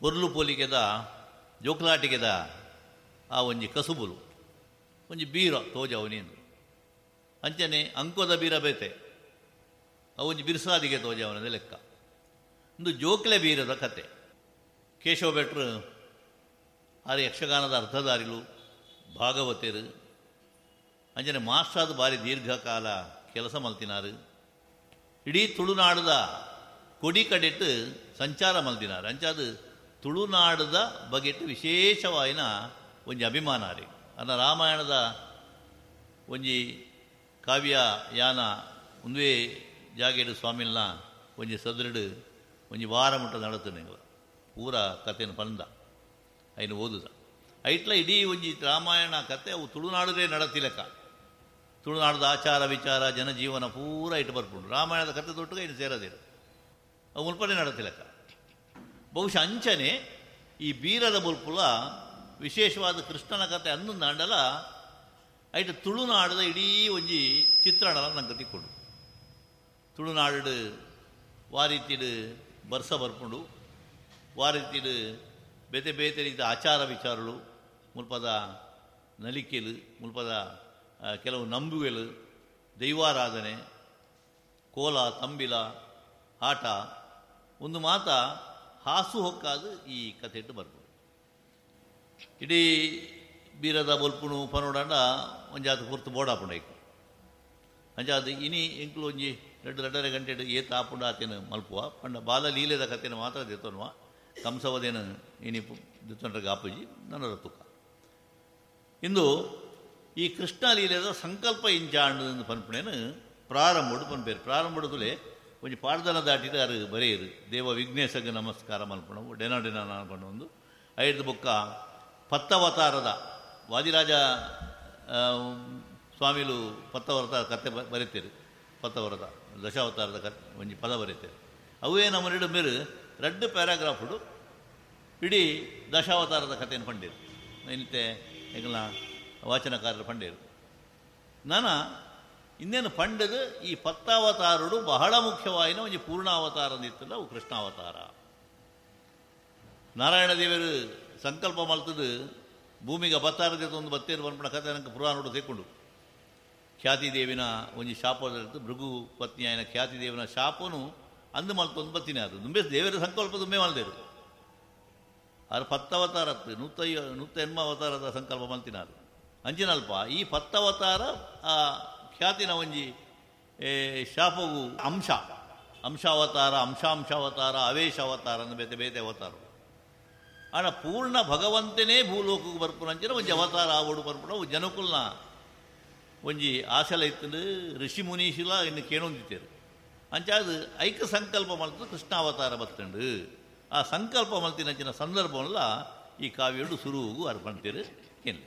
ಪೊರ್ಲು ಪೊಲಿಕೆದ ಜೋಕ್ಲಾಟಿಕೆದ ಆ ಒಂಜಿ ಕಸುಬುಲು ಒಂಜಿ ಬೀರ ತೋಜವನೇನು ಅಂಚನೆ ಅಂಕೋದ ಬೀರ ಬೇತೆ ಅವು ಒಂಜಿ ಬಿರುಸಾದಿಗೆ ತೋಜವನದ ಲೆಕ್ಕ. ಒಂದು ಜೋಕ್ಲೆ ಬೀರದ ಕತೆ. ಕೇಶವ ಭಟ್ರು ಆರು ಯಕ್ಷಗಾನದ ಅರ್ಥಧಾರಿಲು, ಭಾಗವತರು, ಅಂಚನೆ ಮಾಸ್ಟ್ರಾದ ಬಾರಿ ದೀರ್ಘಕಾಲ ಕೆಲಸ ಮಲ್ತಿನಾರು, ಇಡೀ ತುಳುನಾಡದ ಕೊಡಿ ಕಡೆಟ್ಟು ಸಂಚಾರ ಮಲ್ತಿನಾರು. ಅಂಚಾದ ತುಳುನಾಡದ ಬಗೆಟ್ಟು ವಿಶೇಷವಾಯಿನ ಒಂಜಿ ಅಭಿಮಾನ ರೀ. ಅನ್ನ ರಾಮಾಯಣದ ಒಂಜಿ ಕಾವ್ಯ ಯಾನ ಒಂದೇ ಜಾಗೆಡು ಸ್ವಾಮಿಲ್ನ ಒಂಜಿ ಸದೃಡು ಒಂಜಿ ವಾರ ಮುಟ್ಟ ನಡತನೆ ಪೂರ ಕತೆಯನ್ನು ಪಂದ ಐನು ಓದುದ ಐಟ್ಲ ಇಡೀ ಒಂಜಿ ರಾಮಾಯಣ ಕತೆ ಅವು ತುಳುನಾಡದೇ ನಡತಿಲೆಕ್ಕ. ತುಳುನಾಡದ ಆಚಾರ ವಿಚಾರ ಜನಜೀವನ ಪೂರ ಇಟ್ಟು ಬರ್ಪುಂಡು. ರಾಮಾಯಣದ ಕತೆ ತೊಟ್ಟುಗ ಇನ್ನು ಸೇರದಿರು ಅವು ಮುಲ್ಪನೆ ನಡತಿಲೆಕ್ಕ. ಬಹುಶಃ ಅಂಚನೆ ಈ ಬೀರದ ಮುಲ್ಪುಲ ವಿಶೇಷವಾದ ಕೃಷ್ಣನ ಕತೆ ಅನ್ನೊಂದಾಂಡಲ ಐಟ್ ತುಳುನಾಡದ ಇಡೀ ಒಂಜಿ ಚಿತ್ರಣಲ ನಂಗೆ ತಿಕ್ಕೊಂಡು. ತುಳುನಾಡು ವಾರೀತಿಡು ಬರ್ಸ ಬರ್ಪುಂಡು, ವಾರೀತಿಡು ಬೇತೆ ಬೇತೆ ರೀತಿಯ ಆಚಾರ ವಿಚಾರಗಳು, ಮುಲ್ಪದ ನಲಿಕೆಲು, ಮುಲ್ಪದ ಕೆಲವು ನಂಬುಗೆಲು, ದೈವಾರಾಧನೆ, ಕೋಲ ತಂಬಿಲ ಆಟ ಒಂದು ಮಾತ ಹಾಸು ಹೊಕ್ಕಾದು ಈ ಕಥೆ ಇಟ್ಟು ಬರ್ಪುಂಡು. ಇಡೀ ಬೀರದ ಬೊಲ್ಪುಣು ಪನೋಡಂಡ ಒಂಜಾತ ಪೊರ್ತು ಬೋಡಾಪುಂಡು ಐಕು. ಅಂಚಾದ ಇನಿ ಎಂಕ್ಲು ಒಂಜಿ ರಡ್ಡು ರಡ್ಡರೆ ಗಂಟೆ ಏತ್ ಆಪುಂಡು ಆತೇನು ಮಲ್ಪುವ ಪಂಡ ಬಾಲಲೀಲೆದ ಕಥೆನ ಮಾತ್ರ ದೆತ್ತೊನುವ ಕಂಸವದೇನು ಇನಿ ದೆತ್ತೊಂಡ್ರೆ ಆಪುಜಿ ನನ್ನ ತುಕ್ಕ. ಇಂದು ಈ ಕೃಷ್ಣ ಲೀಲೆದ ಸಂಕಲ್ಪ ಇಂಚಾಂಡು ಪನ್ಪುಣೇನು ಪ್ರಾರಂಭಡು ಪನ್ಪೇರು. ಪ್ರಾರಂಭಡು ತುಲೆ ಒಂಜಿ ಪಾಡ್ದನ ದಾಟಿದ ಅರು ಬರೆಯರು ದೇವ ವಿಘ್ನೇಶಗೆ ನಮಸ್ಕಾರ ಮಲ್ಪಣವು ಡೆನ ಡೆನ ಪಂಡ ಐದು ಬೊಕ್ಕ ಪತ್ತವತಾರದ ವಾದಿರಾಜ ಸ್ವಾಮಿಲು ಪತ್ತವರತ ಕತೆ ಬರೀತೀರು, ಪತ್ತವರದ ದಶಾವತಾರದ ಕತೆ ಒಂಜಿ ಪದ ಬರೀತೀರು. ಅವೇ ನಮ್ಮ ಎರಡು ಮೇರು ರಡ್ಡು ಪ್ಯಾರಾಗ್ರಾಫುಡು ಇಡೀ ದಶಾವತಾರದ ಕಥೆಯನ್ನು ಪಂಡೇರು ಇನ್ನಿತ್ತೆ ಎಂಗಲ ವಾಚನಕಾರರು ಪಂಡೇರು. ನಾನ ಇನ್ನೇನು ಪಂಡದು ಈ ಪತ್ತಾವತಾರುಡು ಬಹಳ ಮುಖ್ಯವಾಯಿನ ಒಂಜಿ ಪೂರ್ಣಾವತಾರ ಅಂದಿತ್ತಲ್ಲ ಅವು ಕೃಷ್ಣಾವತಾರ. ನಾರಾಯಣ ದೇವರು ಸಂಕಲ್ಪ ಮಲ್ತದು ಭೂಮಿಗೆ ಅವತಾರದ ಒಂದು ಬತ್ತೇರು ಪನ್ಪುನ ಕಥೆ ನನಗೆ ಪುರಾಣೋಡು ತೆಕ್ಕೊಂಡು. ಖ್ಯಾತಿದೇವಿನ ಒಂಜಿ ಶಾಪ ಭೃಗು ಪತ್ನಿಯಾಯನ ಖ್ಯಾತಿದೇವಿನ ಶಾಪನು ಅಂದು ಮಲ್ತೊಂದು ಬತ್ತಿನ ಅದು ದುಂಬೆ ದೇವರ ಸಂಕಲ್ಪ ದುಂಬೆ ಮಲ್ದೇರು ಅದು ಪತ್ತವತಾರ 180 ಅವತಾರದ ಸಂಕಲ್ಪ ಮಲ್ತಿನಾರು. ಅಂಚಿನಲ್ಪ ಈ ಪತ್ತವತಾರ ಆ ಖ್ಯಾತಿನ ಒಂಜಿ ಶಾಪವು ಅಂಶ ಅಂಶಾವತಾರ ಅಂಶಾಂಶಾವತಾರ ಅವೇಶ ಅವತಾರ ಅಂದು ಬೇತೆ ಬೇತೆ ಅವತಾರ. ಆಡ ಪೂರ್ಣ ಭಗವಂತನೇ ಭೂಲೋಕಕ್ಕೆ ಬರ್ಪುನಂಚಿನ ಒಂಜಿ ಅವತಾರ ಆವಡು ಬರ್ಪುನ ಜನಕುಲ್ನ ಒಂಜಿ ಆಸೆಲ ಇತ್ತು. ಋಷಿ ಮುನೀಶಿಲ ಇನ್ನು ಕೇಣೊಂದಿತ್ತೇರು. ಅಂಚಾದ ಐಕ ಸಂಕಲ್ಪ ಮಲ್ತು ಕೃಷ್ಣಾವತಾರ ಬತ್ತಂಡು. ಆ ಸಂಕಲ್ಪ ಮಲ್ತಿನಂಚಿನ ಸಂದರ್ಭವಲ್ಲ ಈ ಕಾವ್ಯಡು ಸುರುವುಗು ಅರ್ಪಣ್ತೀರು ಕೇಳಿ.